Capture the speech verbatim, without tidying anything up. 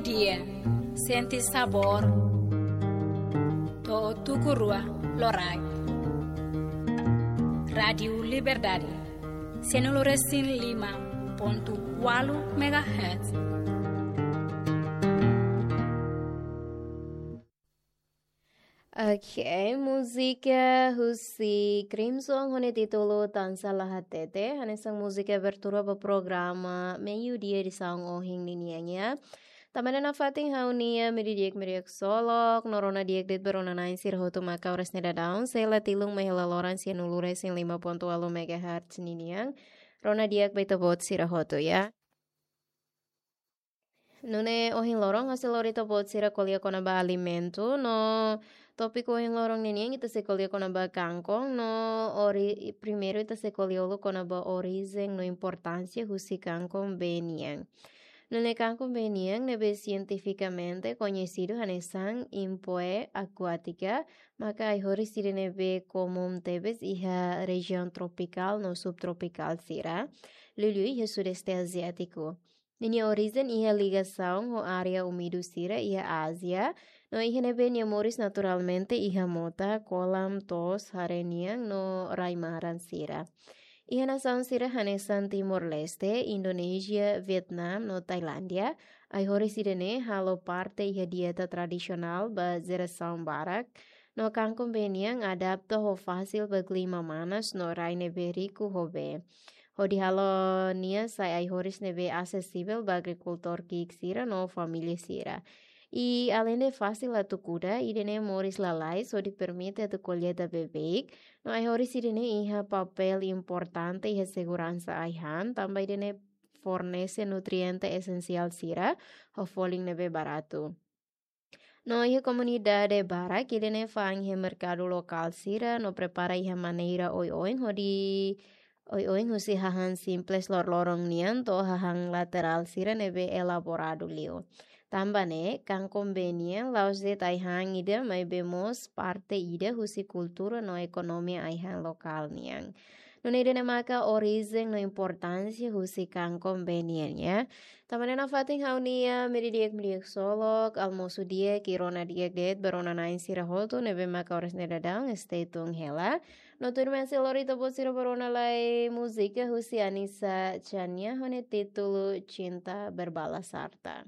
Dia, sente sabór. To'o tuku rua loraik. Rádiu Liberdade, sianulu resin lima pontu ualu megahertz. Oke, múzika husi Crimson ho nia títulu Tansá La Hatete, hanesan múzika abertura ba programa Meiudia edisaun ohin ninian. Tanba ne'e nafatin ha'u-nia media di'ak, media ksolok, no rona di'ak de'it ba rona na'in sira hotu maka oras ne'e daudaun, sei la tilun mai hela loron sianulu resin lima pontu ualu megahertz ninian. Rona di'ak ba ita-boot sira hotu, ya. Nune'e ohin loron ha'u sei lori ita-boot sira ko'alia kona-ba alimentu, no tópiku ohin loron ninian ita sei ko'alia kona-ba kangkon, no ori-, primeiru ita sei ko'alia uluk kona-ba orijen no importánsia husi kangkon bee nian. Nune'e kangkon bee nian ne'ebé sientifikamente koñesidu hanesan Himpoea aquatica, maka ai-horis ida ne'ebé komún tebes iha rejiaun tropikál no subtropikál sira, liuliu iha Sudeste Aziátiku. Ninia orijen iha ligasaun ho área úmidu sira iha Ázia, no iha ne'ebé nia moris naturalmente iha mota, kolam, to'os, haree nian no rai-maran sira. Iha nasaun sira hanesan Timor-Leste, Indonézia, Vietnam no Tailándia, ai-horis ida-ne'e halo parte iha dieta tradisionál ba jerasaun barak, no kangkon bee nian adapta ho fasil ba klima manas no rai ne'ebé riku ho bee. Hodi halo nia sai ai-horis ne'ebé asesivel ba agrikultór ki'ik sira no família sira. I aleinde fasil atu kuda, ida-ne'e moris lalais hodi permite atu kolleita beibeik, no ai-horis ida-ne'e iha papél importante iha seguransa ai-han, tanba ida-ne'e fornese nutriente esensiál sira ho folin ne'ebé baratu. No iha komunidade barak ida-ne'e fa'an iha merkadu lokál sira no prepara iha maneira oioin hodi, oioin husi hahán simples loroloron nian to'o hahán laterál sira ne'ebé elaboradu liu. Tanba ne'e, kangkon bee nian la'ós de'it ai-han ida maibé mós parte ida husi kultura no ekonomia ai-han lokál nian. Nune'e ida-ne'e maka orijen no importánsia husi kangkon bee nian, ya. Tanba ne'e nafatin ha'u-nia media di'ak, media ksolok, almosu di'ak i rona di'ak de'it ba rona na'in sira hotu ne'ebé maka oras ne'e daudaun, stay tune hela. No tuirmai sei lori ita-boot sira ba rona lai múzika husi Anissa Chania ho nia títulu Cinta Berbalas Harta.